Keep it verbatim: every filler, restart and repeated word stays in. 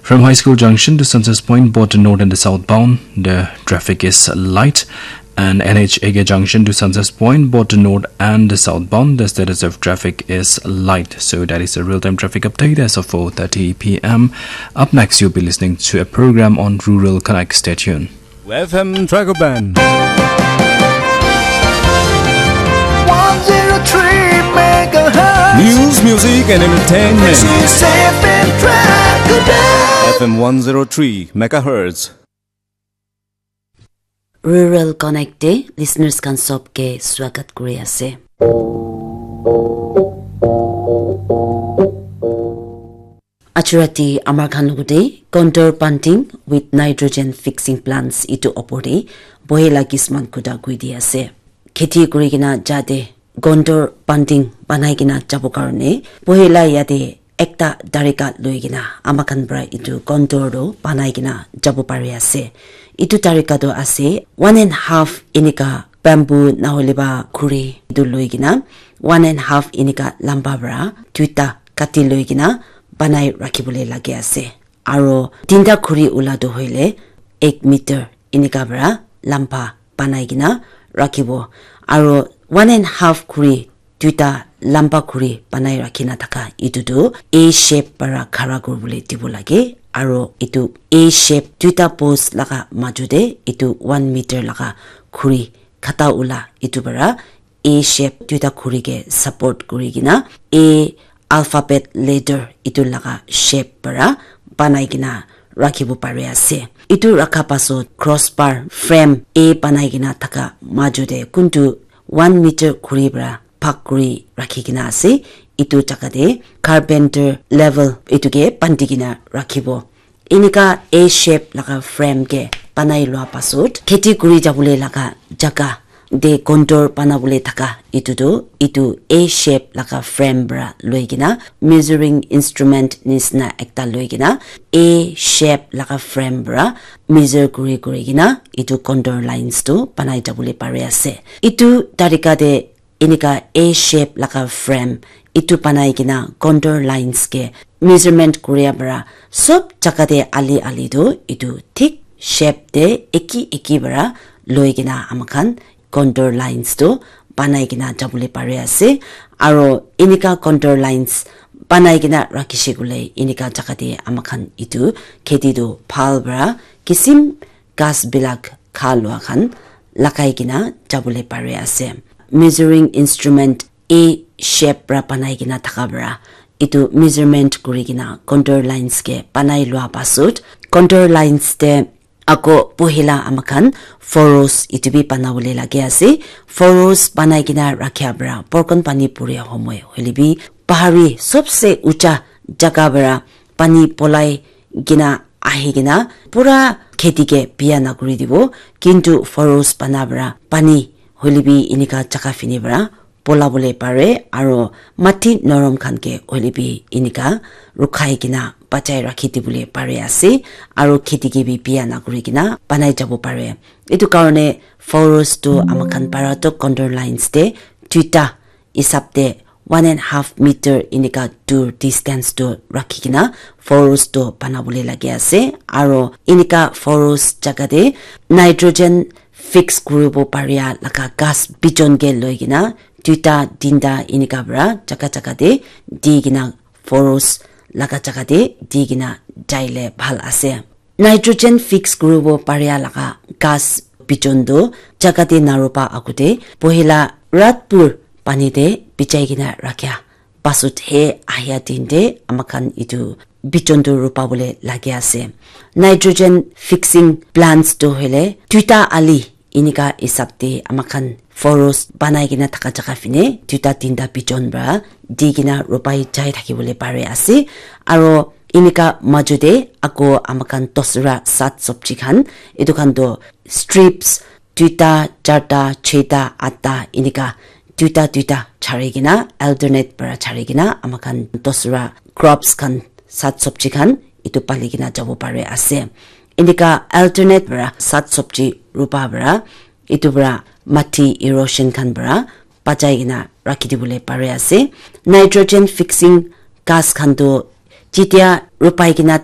From High School Junction to Census Point, both north and the southbound, the traffic is light. And N H A K junction to Census Point, both north and the southbound, the status of traffic is light. So that is a real-time traffic update as of four thirty p m. Up next, you'll be listening to a program on Rural Connect. Stay tuned. F M Tracker Band. One zero three megahertz. News, music, and entertainment. This is F M Tracker Band. F M one zero three megahertz. Rural Connect te listeners khan sob ke swagat kuri ase. Achu rati amar khan logote contour punting with nitrogen fixing plants itu opor te bohila kisman kuda kuri di ase. Kheti kuri kena jate contour punting banai kena jabo karone bohila yate ekta tarika loi kena ama khan para itu contour tu banai kena jabo pari ase. Itu tarika tu ase one and half enika bamboo nahole ba khuri itu loi kena one and half enika lamba para duita kati loi kena banai rakhi bole lage ase. Aro tinta khuri ula tu hoile ek meter enika para lamba banai kena rakhibo. Aro one and half khuri duita lamba khuri banai rakhi na thaka itu tu A shape para khara kuri bole dibo lage. Aro itu A shape duita post laga maju te itu one meter laga khuri khata ula itu para A shape duita khuri ke support kuri kena A alphabet letter itu laga shape para banai kena rakhibo pari ase. Itu rakha pasot crossbar frame A banai kena thaka maju te kuntu one meter khuri para bhag kuri rakhi kena ase. Itu jaga te carpenter level itu ke bandi kena rakhibo. Enika A shape laga frame ke banai lua pasot kheti kuri jabole laga jaga te contour banabole thaka itu tu itu A shape laga frame para loi kena measuring instrument nisna ekta loi kena A shape laga frame para measure kuri kuri kena itu contour lines tu banai jabole pari ase. Itu tarika te enika A shape laga frame itu banai kena contour lines ke measurement kuria para sob jaga te ali ali tu itu thik shape te eki eki para loi kena ama khan contour lines tu banai kena jabole pari ase. Aro enika contour lines banai kena rakhishe koile enika jaga te ama khan itu kheti tu bhal para kisim ghas bilak kha lua khan lagai kena jabole pari ase. Measuring instrument A shape para banai kena thaka para itu measurement kuri kena contour lines ke banai lua pasot contour lines te ako pohila ama khan furrows itu bi banabole lage ase. Furrows banai kena rakhia para borkon pani puria homoi hoile bi bahari sobse ucha jaga para pani polai kena ahi kena pura kheti ke biya nakuri dibo, kintu furrows bana para pani hoile bi enika jaga fini para pola bole pare aro mati norom khan ke hoile bi enika rukhai kena bachai rakhi dibole pare ase aro kheti ke bi biya nakuri kena banai jabo pare. Etu karne furrows tu ama khan para tu contour lines te duita hisab te one and half meter enika dur distance tu rakhi kena furrows tu bana bole lage ase aro enika furrows jaga te nitrogen fix kuribo paria laga ghas bijon ke loi kena duita tinta enika para jaga jaga te di kena furrows laga jaga te di kena jaile bhal ase. Nitrogen fix kuribo paria laga ghas bijon tu jaga te naropa agute pohila rat pur pani te bijai kena rakhia pasut he ahia din te ama khan etu bijon tu ropa bole lage ase. Nitrogen fixing plants tu hoile duita ali enika hisab te ama khan furrows banai kena thaka jaga fine duita tinta bijon para di kena ropai jai thaki bole pare ase aro enika maju te ako ama khan dosra sat sabji khan etu khan tu strips duita charta cheta atta enika duita duita chari kena alternate para chari kena ama khan dosra crops khan sat sabji khan etu pali kena jabo pare ase. Enika alternate para sat sabji ropa para etu para mati erosion khan para bachai kena rakhi dibole pare ase. Nitrogen fixing ghas khan tu jetia rupai kena